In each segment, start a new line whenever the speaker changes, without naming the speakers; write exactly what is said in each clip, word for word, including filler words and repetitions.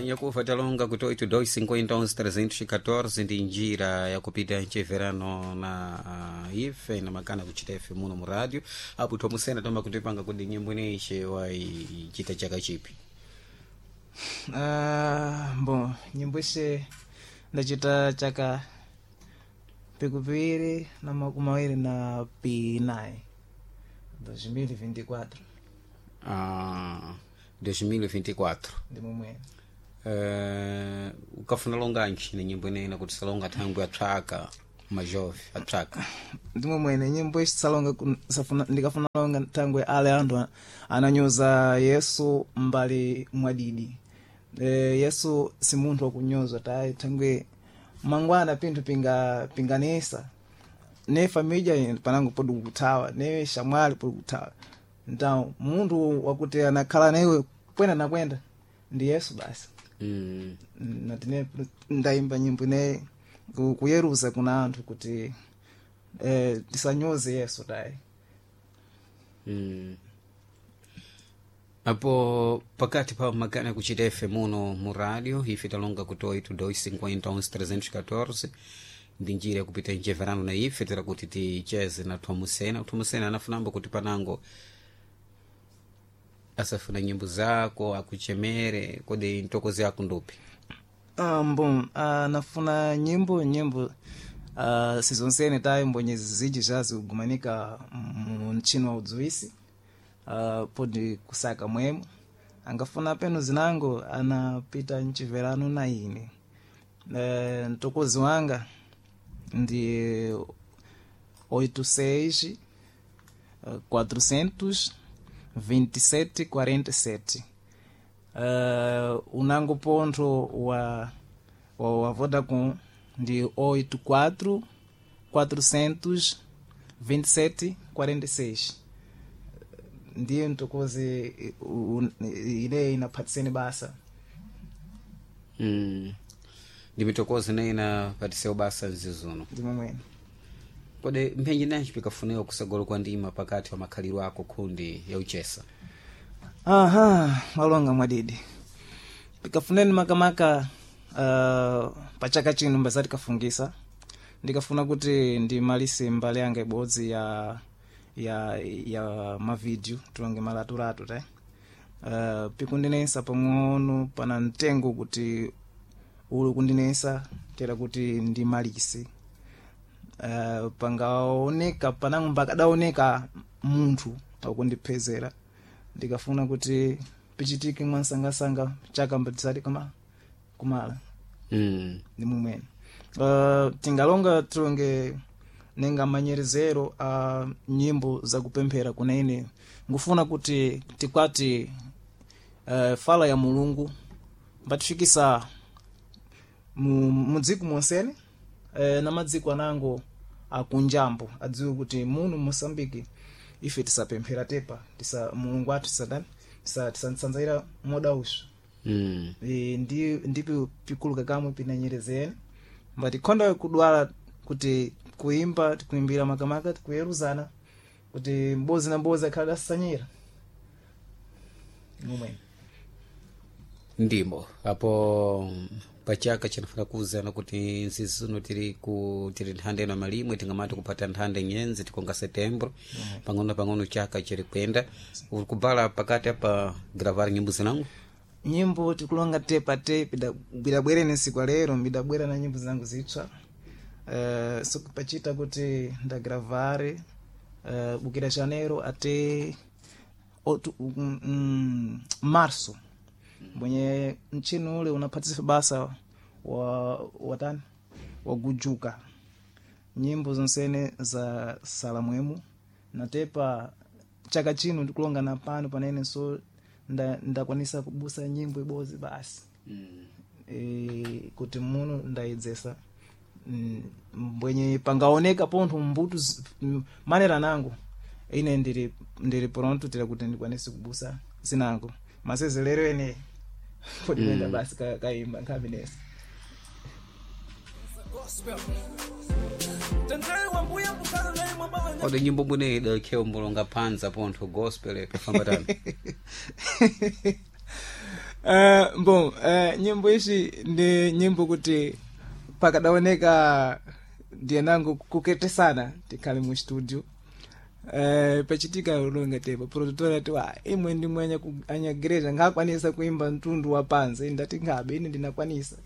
Nyakufa talonga kuti oito dois cinquenta onze trezentos e catorze ndi njira yakupita mcheverano na uh, ife na makana kuchita ife muno mu rádio apo thomusena toma kutipanga kuti nyimbo ineyi waichita chaka chipi.
Uh, bon, nyimbo ishe ndachita chaka pikupiri na makumi awiri na pinayi dois mil e vinte e quatro.
Ah, dois mil e vinte e quatro.
Ndi momwene.
Uh, ukafuna longanji na nyimbo ineyi nakuti salonga thangwi atswaka majove atswaka?
Ndi momwene, nyimbo ishi salonga kun- safuna- ndikafuna longa thangwe ale anthu ananyoza Yesu mbali mwadidi. e, yesu si munthu wakunyoza tayi, thangwe mangwana pinthu pinga pinganesa ne família panango podi kuthawa, ne shamwali podi kuthawa. Então munthu wakuti anakhala newe kwenda na kwenda ndi Yesu basi.
mm.
Natine ndayimba nyimbo ine ku- kuyeruza kuna anthu kuti eh, tisanyoze Yesu tayi.
Mm. Apo pakati pa makana kuchita ife muno mu rádio ife talonga kuti oito dois cinquenta onze trezentos e catorze ndi njira yakupita mcheverano na ife tera kuti ticheze na Thomusena. Thomusena anafunamba kuti panango asafuna nyimbo zako akuchemere, kodi ntokozi yako ndupi?
Um, bom, uh, nafuna nyimbo nyimbo uh, sizonsene tayi, mbonye ziji zazigumanika mu mchino wa udzuisi, uh, podi kusaka mwemo angafuna peno zinango anapita mchiverano na ine. uh, mtokozi wanga ndi oito seis quatrocentos vinte e sete quarenta e sete. uh, unango pontho wa, wa, wa Vodacom ndi oito quatro quatrocentos vinte e sete quarenta e seis. Ndiye mtokozi ile inaphatiseni basa.
mm. ndi mitokozi nayi inapatiseu basa mzizuno.
Ndi momwene.
Kodi mphenji nanji pikafunika kusagolo kwa ndima pakati pa makhaliro ako khundi ya uchesa?
Aha, walonga mwadidi, pikafuneni makamaka uh, pachaka chino mbazati kafungisa, ndikafuna kuti ndimalise mbali yanga ibodzi ya ya ya mavideo tulonge malatulatu te. uh, pikundinesa pang'ono pana mtengo kuti uli kundinesa tera kuti ndimalise. uh, pangaoneka panango mbakadaoneka munthu wakundiphezera, ndikafuna kuti pichitike mwansangasanga chaka mbatisati kama kumala.
mm.
Ndi mumwene. uh, tingalonga tulonge nenga manyerezero a uh, nyimbo zakupemphera kunene ngufuna kuti tikwati uh, fala ya Mulungu mbatifikisa mu, mudziko monsene, eh, na madziko anango akunjambo adziwe kuti muno Mosambiki ife tisapemphera tepa tisa Mulungu athu tisadani tisa tisanzaira moda ushu.
Mm.
E, ndi ndipi pikuluka kamwe pinanyerezeni mbati khonda kudwala kuti kuimba tikuimbira makamaka tikuyeruzana kuti mbozi na mbozi akhala dasanyira momwene.
Ndimbo apo pachaka chanafuna kuwuzana kuti nzizuno tiri ku tiri nthanda ino malimwe tingamati kupata nthanda nyenzi tikonga setembro, pang'ono pang'ono chaka chiri kwenda uri kubala pakati apa gravar nyimbo zinango.
Nyimbo tikulonga tepa te bidabwere nesiku lero bidabwera na nyimbo zangu zitsva, uh, sokupachita kuti ndagravare uh, bukira janeiro ate otu, mm, mm, março mwenye mchini ule unaphatisa basa wa watani wagujuka nyimbo zonsene za salamwemu natepa chaka chino ndikulonga na pano panene so nda- ndakwanisa kubusa nyimbo ibodzi basi.
mm.
E, kuti muno ndayidzesa Mm, mbwenye pangaoneka pontho mbutu zi- m- manera nangu ine ndiri ndiri pronto tira kuti ndikwanise kubusa zinango masezerero ene podipenda mm. basi ka- kaimba nkhaminesa.
Kodi nyimbo bwine idakhewa mbulonga panza pontho gospel pafamba tani?
Uh, bon, uh, nyimbo ishi ndi nyimbo kuti pakadaoneka ndiye nangu kuketesana tikhale mu studio, uh, pachitika ulonga tepo produtor ati wa imwe ndi mwenye ku- anyagereja ngakwanisa kuimba mtundu wa panze. Ndati ngabe ine ndinakwanisa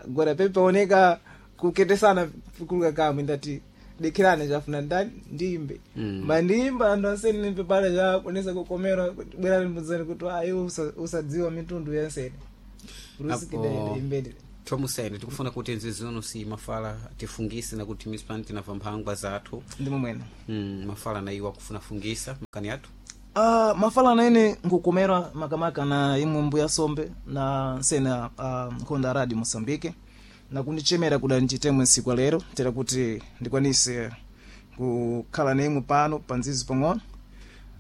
gora pepaoneka kuketesana kuluka kamwe. Ndati dikirane chafuna ndani ndiimbe.
Mm.
Mandiimba anthu ansene nimpepala chakonesa kukomera bwera limbudzani kuti ayi usadziwa mitundu yansene.
Apo-
Imbedi.
Thomusene tikufuna kuti nzizono si mafala tifungise nakuti misipani tinamva mphangwa zathu.
Ndimo mwene.
mm, mafala na iwo akufuna fungisa makani athu.
Uh, mafala naene nkukomera makamaka na imwe mbuya sombe na nsena uh, nkhonda radio Moçambique na kundichemera kuda ndichitemwe nsiku lero tera kuti ndikwanise kukhala na imwe pano pa nzizi pang'ono.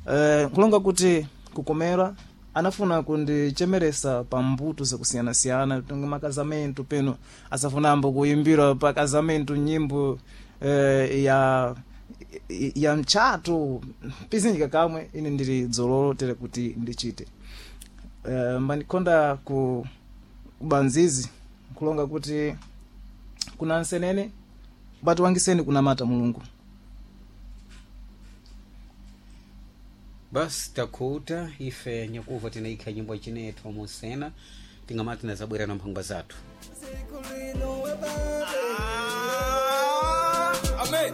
uh, nkulonga kuti kukomera anafuna kundichemeresa pa mbuto zakusiyanasiyana tunga makazamento peno asafunambo kuimbira pa kazamento nyimbo eh, ya ya mchato pizinjika kamwe ine ndili dzololo tere kuti ndichite. uh, mbandikonda ku kubanzizi nkulonga kuti kuna nsenene batu wangiseni kunamata mulungu.
Basi takhuta ife nyakuva tinaikha nyimbo chine thomusena tingamati tinazabwera na mphangwa zathu.
Siku lino weba.